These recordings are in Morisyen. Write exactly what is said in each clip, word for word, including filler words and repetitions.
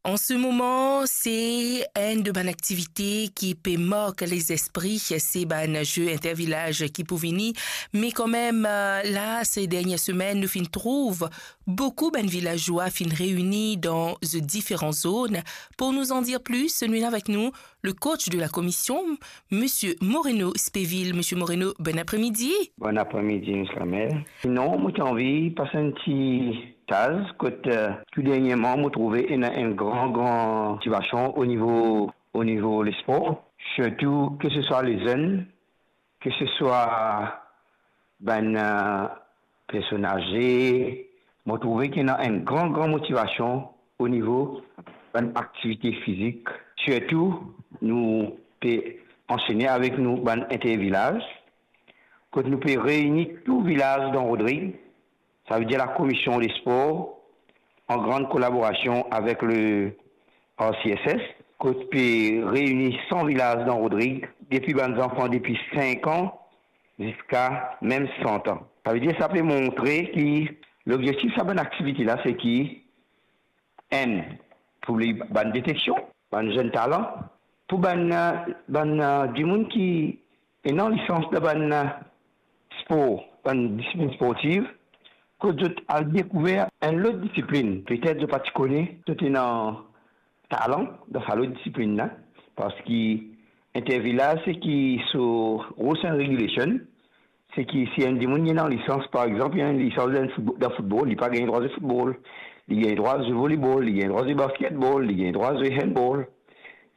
An se moman, se enn de bann aktivite ki pe mark lezespri, se bann ze intervilaz ki pou vini. Me kanmem, eh, la, se dernie semenn, nou finn trouv boukou bann vilazwa finn reini dan ze diferan zone. Pou nou andir plis, nou ena avek nou le coach de la commission, Monsieur Moreno Speville. Monsieur Moreno, bon apremidi. Bon apremidi, Miss Lamel. Non, mo ti anvi pas enn ti taz kot, eh, tou dernieman, mo trouve ena enn gran, gran motivasion o nivo, o nivo lespor. Sirtou, ke se swa lezenn, ke se swa bann, eh, personn aze, mo trouve ki ena enn gran, gran motivasion o nivo bann aktivite fizik. Sirtou, nou pe ansene avek nou bann intervilaz, kot nou pe reini tou vilaz dan Rodrig, savedir la commission des sports, an gran kolaborasion avek le R C S S, kot pe reini san vilaz dan Rodrig, depi bann zanfan depi sink an ziska mem san an. Savedir sa pe montre ki lobzektif sa bann aktivite la, se ki, enn, pou li bann deteksion, bann zenn talan, pou bann, eh, bann, eh, dimoun ki ena lisans dan bann, eh, spor, bann disiplin sportiv, kot zot al dekouver enn lot disiplin. Petet zot pa ti kone zot ena talan dan sa lot disiplin la, parski intervilaz, se ki so rules and regulation, se ki si enn dimoun li ena lisans, par exanp, li ena lisans dan football, dan football, li pa gagn drwa zwe football, li gagn drwa zwe volleyball, li gagn drwa zwe basketball, li gagn drwa zwe handball.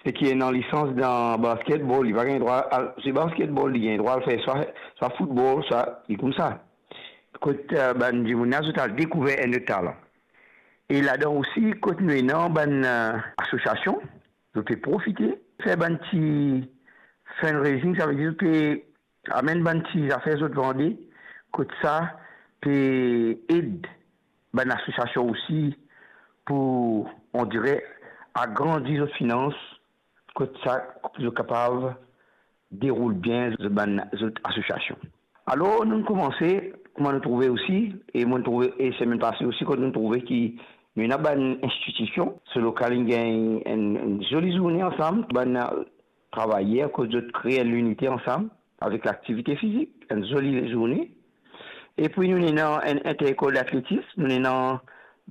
Se ki ena lisans dan basketball, li pa gagn drwa al zwe basketball, li gagn drwa al fer swa, swa football, swa, e koumsa. Kot, eh, bann dimoun la, zot al dekouver enn lot talan. E ladan osi, kot nou ena bann, eh, asosiasion, zot pe profite fer bann ti fundraising, savedir zot pe amenn bann ti zafer zot vande, kot sa pe ed bann asosiasion osi pou, on dire, agrandi zot finans, kot sa zot kapav deroul bien zot bann, zot asosiasion. Alor, nou koumanse, kouma nou trouve osi, e mo trouve, e semenn pase osi, kot nou trouve ki nou ena bann institision, so lokal inn gagn enn, enn zoli zourne ansam, bann, eh, travayer, kot zot kre enn linite ansam avek laktivite fizik, enn zoli zourne. Epi nou ena enn interlekol datletis, nou ena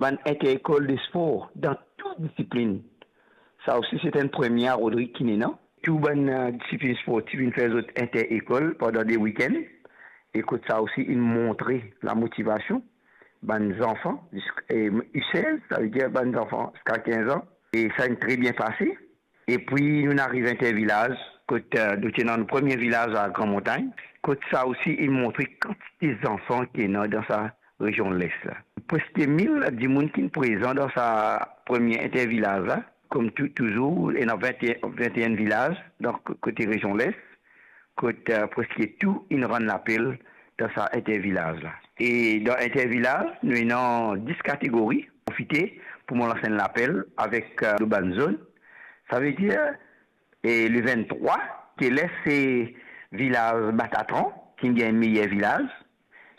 bann interlekol de spor dan tou disiplin. Sa osi, se enn premie a Rodrig ki ena. Tou bann, eh, disiplin sportiv inn fer zot interlekol pandan de wikenn. E kot sa osi inn montre lamotivasion bann zanfan, ziska, eh, U sez, savedir bann zanfan ziska kinz an. E sa inn tre bien pase. Epi nou ariv intervilaz, kot, eh, nou ti ena nou premie vilaz a Gran Montagn, kot sa osi inn montre kantite zanfan ki ena dan sa rezion Les la. Preske mil dimoun ki prezan dan sa premie intervilaz la, kouma tou, touzour, ena vinte, vinte-enn vilaz, donk kote rezion Les, kot, eh, preske tou inn rann lapel dan sa intervilaz la. E dan intervilaz, nou ena dis kategori. Profite pou mo lans enn lapel avek, eh, lor bann zone. Savedir, e le venntrwa, ke Les se vilaz Batatran ki gagn meyer vilaz,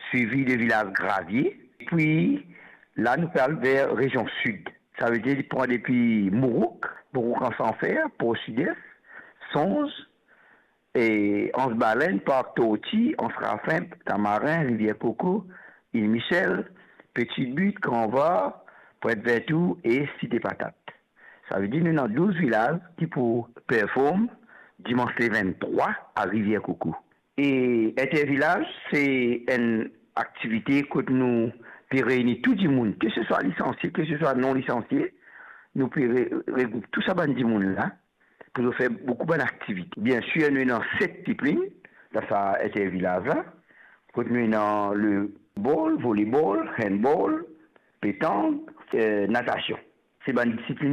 swivi de vilaz Gravie. Epi la, nou pe al ver rezion Sid. Savedir, li pran depi Mourouk, Mourouk Anse en Fer, Port Sud-Est, Sonz, e Anse Baleine, Parc Tortue, Anse Raffin, Tamarin, Rivière Coco, Ile Michel, Petite Butte, Grand Var, Pointe Verte Tour e Cité Patate. Savedir nou ena douz vilaz ki pou perform dimans le venntrwa a Rivière Coco. E intervilaz, se enn aktivite kot nou pe reini tou dimoun, ke se swa lisansie, ke se swa non lisansie, nou pe re-, regroup tou sa bann dimoun la pou nou fer boukou bann aktivite. Biensir, nou ena set disiplin dan sa intervilaz la, kot nou ena le ball, volleyball, handball, petang, eh, natasion. Se bann disiplin